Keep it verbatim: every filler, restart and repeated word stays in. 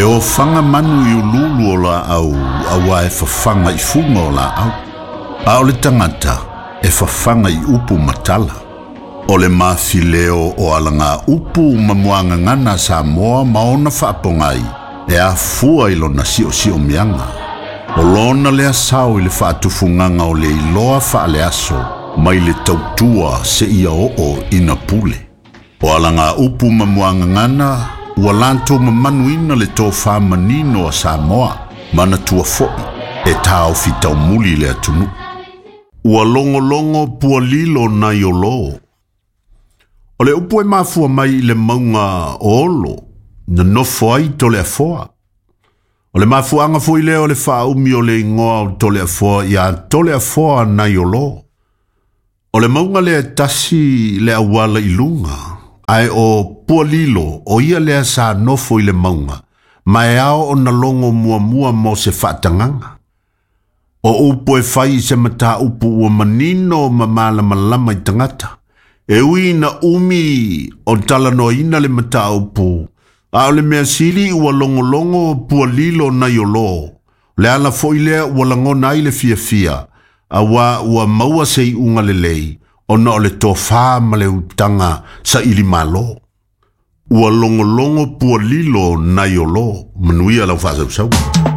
E ofaga manu i uluulu o laau auā e fafaga i fuga o laau. A o le tagata e fafaga i upu ma tala. O le mafileo o alaga upu ma muagagana a Samoa ma ona faapogai e afua i lona siosiomiaga. O lona lea sao i le faatufugaga o le iloa faaleaso mai le tautua seia oo ina pule. O alaga upu ma muagagana ua latou mamanuina le tofā manino a Samoa manatua fo'i e taofi taumuli le atunuu. Ua logologo pualilo nai olō. O le upu e mafua mai i le mauga o Olo, na nofo ai Toleafoa. O le mafuaaga foi lea o le faaumi o le igoa o Toleafoa ia Toleafoa nai olō. O le mauga lea e tasi le auala i luga, ae o Pualilo o ia lea sa nofo i le mauga, ma e ao ona logo muamua mo se faatagaga. O upu e fai i se mataupu ua manino ma malamalama i tagata. E ui ina umi o talanoaina le mataupu, a o le mea sili ua logologo pualilo nai olō. Le ala foi lea ua lagona ai le fiafia, auā ua maua se iuga lelei, ona o le tofā ma le utaga sailimalo. Ua logologo pualilo nai olō. Manuia lau faasausauga.